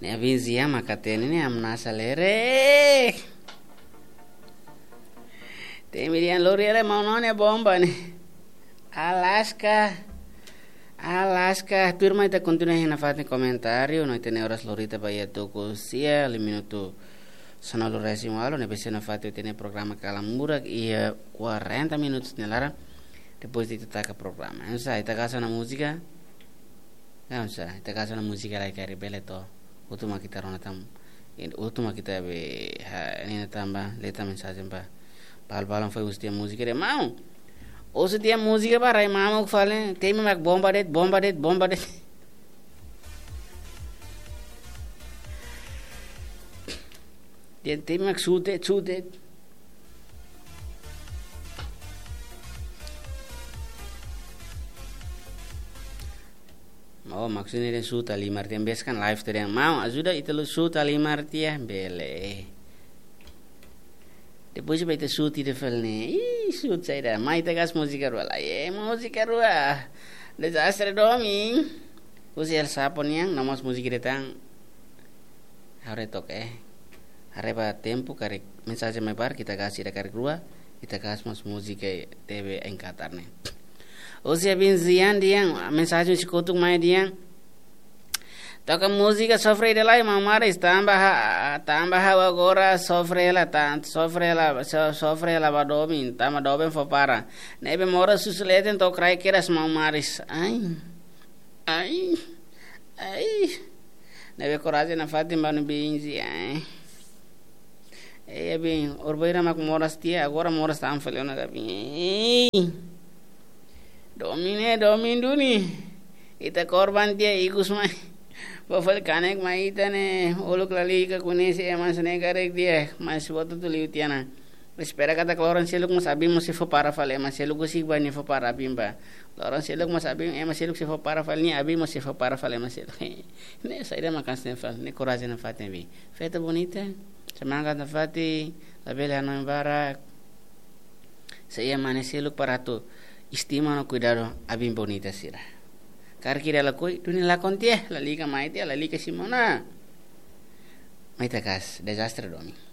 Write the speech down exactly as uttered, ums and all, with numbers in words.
Ne'e abin Zia mak hatene ne'e, am nasa lere. Temi dehan lori ele mau none bomba ne'e. Alaska. Alaska. Tuirmai ita kontinua iha nafatin komentáriu, no ita-nia oras lori tiha ba iha tuku sia, liu minutu sanulu-resin-ualu, ne'ebé sei nafatin ita-nia programa Kalan Murak iha kuarenta minutus nia laran. Depois ita taka programa. Entaun, ita gasta ona múzika. Entaun, ita gasta ona múzika lai karik bele to. Hotu mak ita rona tan. Hotu mak ita be, ha, ne'e tanba, letra mensajen ba. Bal balan foi usti múzika de mau. Usti múzika ba rai mamuk fali. Temi mak bomba de'it, bomba de'it, bomba de'it. Dehan temi mak sute, sute. Oh, maksudnya dehan suta limar tiha, biasa kan live tiha dehan mau ajuda ita lori suta limar tiha, bele. Depois ba ita suti de fel ne'e. Ih, sut saida. Mai ita gasta múzika rua lai. Eh, múzika rua. Dezastre domin. Husi El Sapo nian, no mós múzika de'it tan. Haree took, eh. Haree ba tempu karik mensajen mai barak, ita gasta ida karik rua, ita gasta mós múzika T V em Qatar ne'e. Husi abin Zian dehan, mensajen sei kotuk mai dehan. Toka múzika sofre ida lai, maun Maris, tanba ha'u, tanba ha'u agora sofre hela tan, sofre hela, so-, sofre hela ba domin, tanba doben fó para. Ne'ebé moras husi leten to'o kraik kedas, maun Maris. Ai. Ai. Ai. Ne'ebé korajen nafatin ba no bin Zia, ai. Eh, abin, orbira mak moras tiha, agora moras tan fali ona, abin. Eh. Domin ne'e, domin duni. Ita korban tiha ikus mai. Ba fali kanek mai ita ne'e, uluk lalika koñese ema sira ne'e karik tiha, mas buat hotu liu tiha ona. Espera katak loron seluk mós abin mós sei fó para fali, ema seluk husik ba nia fó para abin ba. Loron seluk mós abin, ema seluk sei fó para fali nia, abin mós sei fó para fali ema seluk. Ne'e saida mak hanesan ne'e fali, ne'e korajen nafatin, abin. Festa bonita, semangat nafatin, labele hanoin barak. Sei iha mane seluk para atu estima no kuidadu abin bonita sira. Karik ida lakohi, duni lakon tiha, lalika mai tiha, lalika simu ona. Mai ita gasta, dezastre domin.